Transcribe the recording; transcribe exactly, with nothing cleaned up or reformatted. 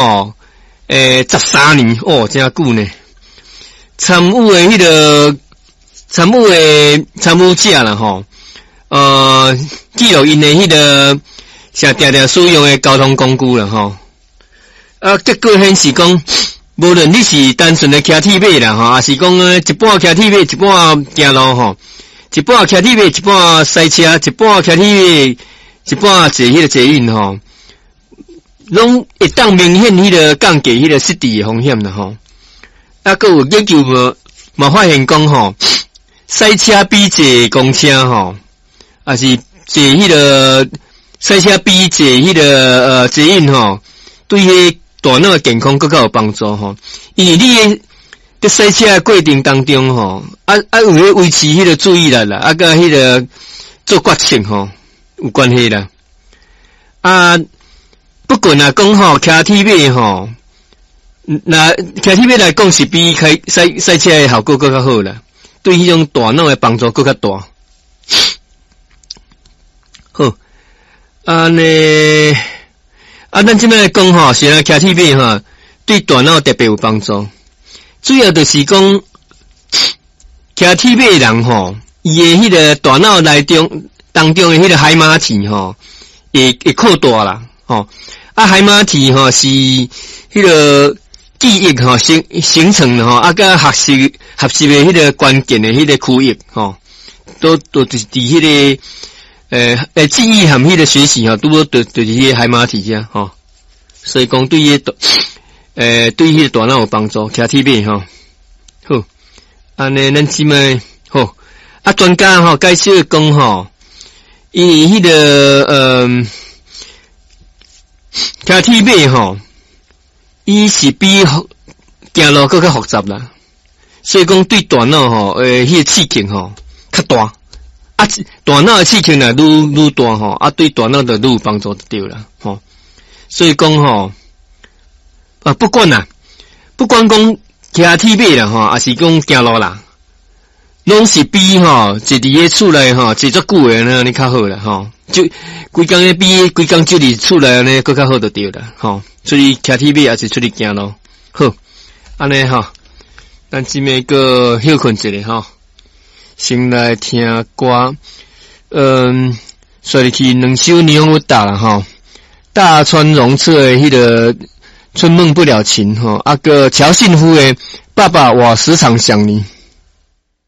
吼，欸，十三年哦，誠久呢。參與的彼个參與的參與者啦吼，呃，記錄𪜶的彼个誠定定使用的交通工具啦吼。啊，結果顯示講，無論你是單純的騎鐵馬啦吼，抑是講一半騎鐵馬，一半行路吼，一半騎鐵馬，一半駛車，一半騎鐵馬，一半坐彼個捷運吼，攏會當明顯彼個降低彼個失智的風險啦吼。啊，閣有研究無嘛發現講吼，駛車比坐公車吼，抑是坐彼個駛車比坐彼個呃捷運吼，對彼大腦的健康閣較有幫助吼。因為你的佇駛車的過程當中吼，啊啊有咧維持彼個注意力啦，啊佮彼個做決策吼有關係啦。啊，不過若講吼，騎鐵馬吼，若騎鐵馬來講是比開駛駛車的效果閣較好啦，對彼種大腦的幫助閣較大。好，按呢，啊，咱這擺來講吼，是啊，騎鐵馬吼，對大腦特別有幫助。主要就是講，騎鐵馬的人吼，伊的彼個大腦內中當中的彼個海馬體吼，會會擴大啦，吼。啊，海馬體吼是彼個記憶吼形形成的吼，啊，佮學習學習的彼個關鍵的彼個區域吼，都都就是佇彼個呃呃記憶和彼個學習吼，拄好就就是彼個海馬體遮吼。所以講對彼個呃對彼個大腦有幫助，騎鐵馬吼。好，按呢咱這擺好，啊專家吼解釋講吼，因為彼個呃騎鐵馬吼，伊是比行路閣較複雜啦，所以講對大腦吼，呃，彼個刺激吼較大，啊，大腦的刺激若愈愈大吼，啊，對大腦就愈有幫助就對啦，吼。所以講吼，啊，不管啦，不管講騎鐵馬啦吼，抑是講行路啦，攏是比吼坐佇咧厝內吼坐足久的按呢較好啦，吼。就規工咧比規工坐佇厝內按呢閣較好就對啦，吼。出去騎鐵馬抑是出去行路，好，按呢吼，咱這擺閣歇睏一下吼，先來聽歌，嗯，煞入去兩首霓虹歌啦吼，大川榮策的彼个《春夢不了情》吼，啊閣喬信夫的《爸爸我時常想你》。